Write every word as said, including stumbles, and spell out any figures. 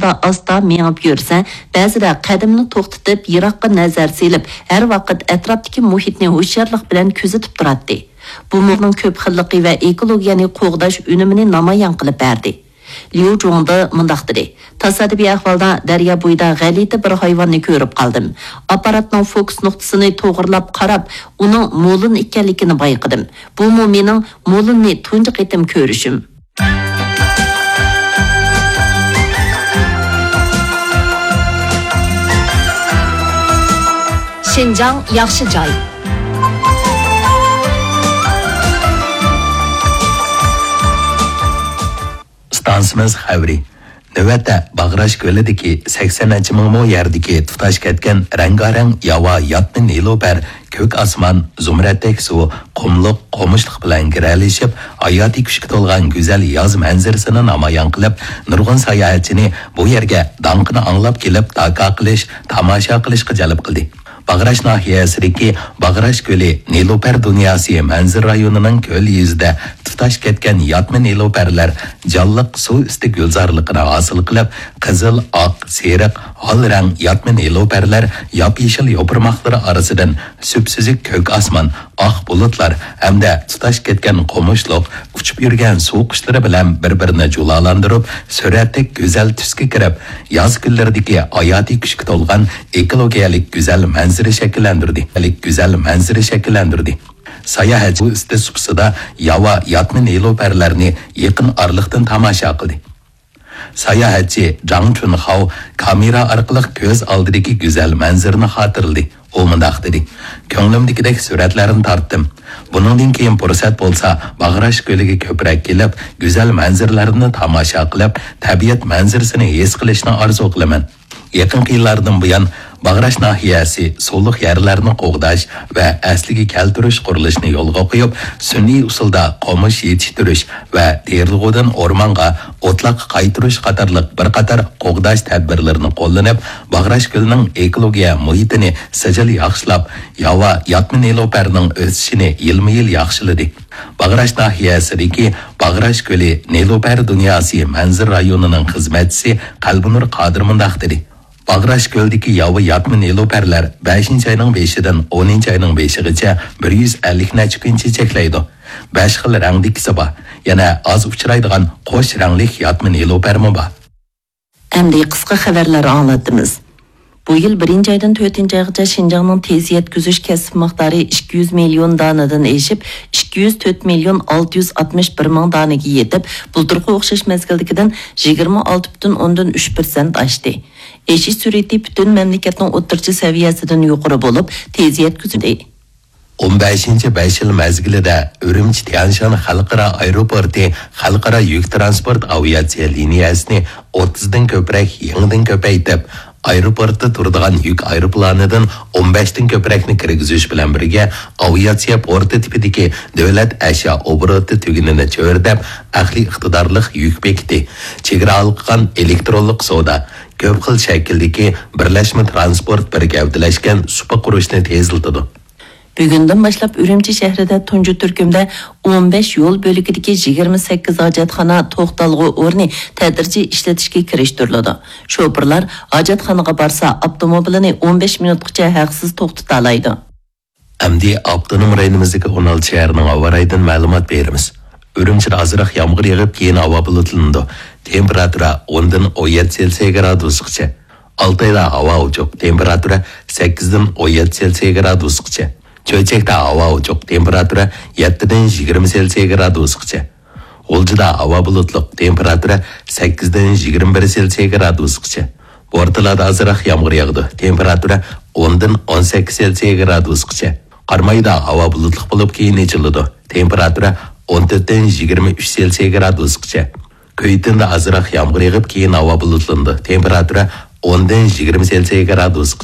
ئاستا-ئاستا مېڭىپ يۈرسە، بەزىدە قەدىمىنى توختىتىپ، يىراققا نەزەر سېلىپ، ھەر ۋاقىت ئەتراپتىكى مۇھىتنى ھوشيارلىق بىلەن كۆزىتىپ تۇراتتى. بۇمۇ ئۇنىڭ كۆپ خىللىقى ۋە ئېكولوگىيەنى قوغداش ئۈنۈمىنى نامايان قىلىپ بەردى. ليۇ جۇڭدې مۇنداق دېدى: تاسادىپىي ئەھۋالدا دەريا بويىدا غەلىتە بىر ھايۋاننى كۆرۈپ قالدىم. ئاپپاراتنىڭ فوكۇس نۇقتىسىنى توغرىلاپ قاراپ، ئۇنىڭ مولۇن ئىكەنلىكىنى بايقىدىم. بۇمۇ مېنىڭ مولۇننى تۇنجى قېتىم كۆرۈشۈم. شىنجاڭ ياخشى جاي. ئىستانسىمىز خەۋىرى. نۆۋەتتە باغراش كۆلىدىكى سەكسەن نەچچە مىڭ مو يەردىكى تۇتاش كەتكەن رەڭگارەڭ ياۋا ياتمىن نېلۇپەر كۆك ئاسمان، زۇمرەتتەك سۇ، قۇملۇق، قومۇشلۇق بىلەن گىرەلىشىپ، ھاياتىي كۈچكە تولغان گۈزەل ياز مەنزىرىسىنى نامايان قىلىپ، نۇرغۇن ساياھەتچىنى بۇ يەرگە داڭقىنى ئاڭلاپ كېلىپ، داكا قىلىش، تاماشا قىلىشقا جەلپ قىلدى. باغراش ناھىيەسىدىكى باغراش كۆلى نېلۇپەر دۇنياسى مەنزىرە رايونىنىڭ كۆل يۈزىدە تۇتاش كەتكەن ياتمىن نېلۇپەرلەر جانلىق سۇ ئۈستى گۈلزارلىقىنى ھاسىل قىلىپ، قىزىل، ئاق، سېرىق، ھال رەڭ ياتمىن نېلۇپەرلەر ياپيېشىل يوپۇرماقلىرى ئارىسىدىن سۈپسۈزۈك كۆك ئاسمان، ئاق بۇلۇتلار ھەمدە تۇتاش كەتكەن قومۇشلۇق، ئۇچۇپ يۈرگەن سۇ قۇشلىرى بىلەن بىر-بىرىنى جۇلالاندۇرۇپ، سۈرەتتەك گۈزەل تۈسكە كىرىپ، ياز كۈنلىرىدىكى ھاياتىي كۈچكە تولغان ئېكولوگىيەلىك گۈزەل مەنزىرە شەكىللەندۈردى. گۈزەل مەنزىرە شەكىللەندۈردى. ساياھەتچى بۇ ئۈستى سۇپىسىدا ياۋا ياتمىن نېلۇپەرلەرنى يېقىن ئارىلىقتىن تاماشا قىلدى. ساياھەتچى جاڭ چۈنخاۋ كامېرا ئارقىلىق كۆز ئالدىدىكى گۈزەل مەنزىرىنى خاتىرىلىدى. ئۇ مۇنداق دېدى: كۆڭلۈمدىكىدەك سۈرەتلەرنى تارتتىم. بۇنىڭدىن كېيىن پۇرسەت بولسا، باغراش كۆلىگە كۆپرەك كېلىپ، گۈزەل مەنزىرىلەرنى تاماشا قىلىپ، تەبىئەت مەنزىرىسىنى ھېس قىلىشنى ئارزۇ قىلىمەن. يېقىنقى يىللاردىن بۇيان، باغراش ناھىيەسى سۇلۇق يەرلەرنى قوغداش ۋە ئەسلىگە كەلتۈرۈش قۇرۇلۇشىنى يولغا قويۇپ، سۈنئىي ئۇسۇلدا قومۇش يېتىشتۈرۈش ۋە تېرىلغۇدىن ئورمانغا، ئوتلاققا قايتۇرۇش قاتارلىق بىر قاتار قوغداش تەدبىرلىرىنى قوللىنىپ، باغراش كۆلىنىڭ ئېكولوگىيە مۇھىتىنى سىجىل ياخشىلاپ، ياۋا ياتمىن نېلۇپەرنىڭ ئۆسۈشىنى يىلمۇ-يىل ياخشىلىدى. باغراش ناھىيەسىدىكى باغراش كۆلى نېلۇپەر دۇنياسى مەنزىرە رايونىنىڭ خىزمەتچىسى قەلبىنۇر قادىر مۇنداق دېدى: باغراش كۆلىدىكى ياۋا ياتمىن نېلۇپەرلەر بەشىنچى ئاينىڭ بېشىدىن ئونىنچى ئاينىڭ بېشىغىچە بىر يۈز ئەللىك نەچچە كۈن چېچەكلەيدۇ. بەش خىل رەڭدىكىسى بار. يەنە ئاز ئۇچرايدىغان قوش رەڭلىك ياتمىن نېلۇپەرمۇ بار. ئەمدى قىسقا خەۋەرلەر ئاڭلىتىمىز. بۇ يىل بىرىنچى ئايدىن تۆتىنچى ئايغىچە شىنجاڭنىڭ تېز يەتكۈزۈش كەسىپ مىقدارى ئىككى يۈز مىليون دانىدىن ئېشىپ، ئىككى يۈز تۆت مىليون ئالتە يۈز ئاتمىش بىر مىڭ دانىگە يېتىپ، بۇلتۇرقى ئوخشاش مەزگىلدىكىدىن يىگىرمە ئالتە پۈتۈن ئوندىن ئۈچ پىرسەنت ئاشتى. ئېشىش سۈرئىتى پۈتۈن مەملىكەتنىڭ ئوتتۇرىچە سەۋىيەسىدىن يۇقىرى بولۇپ، تېز يەتكۈزۈلدى. ئون بەشىنچى بەش يىل مەزگىلىدە ئۈرۈمچى تيەنشان خەلقئارا ئايروپورتى خەلقئارا يۈك ترانسپورت ئاۋىئاتسىيە لىنىيەسىنى ئوتتۇزدىن كۆپرەك يېڭىدىن كۆپەيتىپ، ئايروپورتتا تۇرىدىغان يۈك ئايروپىلانىدىن ئون بەشتىن كۆپرەكنى كىرگۈزۈش بىلەن بىرگە، ئاۋىئاتسىيە پورتى تىپىدىكى دۆلەت ئەشيا ئوبوروتى تۈگۈنىنى چۆرىدەپ، ئەقلىي ئىقتىدارلىق يۈك بېكىتى، چېگرا ھالقىغان ئېلېكترونلۇق سودا، كۆپ خىل شەكىلدىكى بىرلەشمە ترانسپورت بىر گەۋدىلەشكەن سۇپا قۇرۇشنى تېزلىتىدۇ. بۈگۈندىن باشلاپ ئۈرۈمچى شەھىرىدە تۇنجى تۈركۈمدە ئون بەش يول بۆلىكىدىكى يىگىرمە سەككىز ھاجەتخانا توختالغۇ ئورنى تەدرىجىي ئىشلىتىشكە كىرىشتۈرۈلىدۇ. شوپۇرلار ھاجەتخانىغا بارسا، ئاپتوموبىلىنى ئون بەش مىنۇتقىچە ھەقسىز توختىتالايدۇ. ئەمدى ئاپتونوم رايونىمىزدىكى ئون ئالتە شەھەرنىڭ ھاۋا رايىدىن مەلۇمات بېرىمىز. ئۈرۈمچىدە ئازراق يامغۇر يېغىپ، كېيىن ھاۋا بۇلۇتلىنىدۇ. تېمپېراتۇرا ئوندىن ئون يەتتە سېلسىيە گرادۇسقىچە. ئالتايدا ھاۋا ئوچۇق، تېمپېراتۇرا سەككىزدىن ئون يەتتە سېلسىيە گرادۇسقىچە. چۆچەكتە ھاۋا ئوچۇق، تېمپېراتۇرا يەتتىدىن يىگىرمە سېلسىيە گرادۇسقىچە. غۇلجىدا ھاۋا بۇلۇتلۇق، تېمپېراتۇرا سەككىزدىن يىگىرمە بىر سېلسىيە گرادۇسقىچە. بورتالادا ئازراق يامغۇر ياغىدۇ، تېمپېراتۇرا ئوندىن ئون سەككىز سېلسىيە گرادۇسقىچە. قارامايدا ھاۋا بۇلۇتلۇق بولۇپ، كېيىن ئېچىلىدۇ، تېمپېراتۇرا ئون تۆتتىن يىگىرمە ئۈچ سېلسىيە گرادۇسقىچە. كۈيتىندە ئازراق يامغۇر يېغىپ، كېيىن ھاۋا بۇلۇتلىنىدۇ. تېمپېراتۇرا ئوندىن يىگىرمە سېلسىيە گرادۇسقىچە.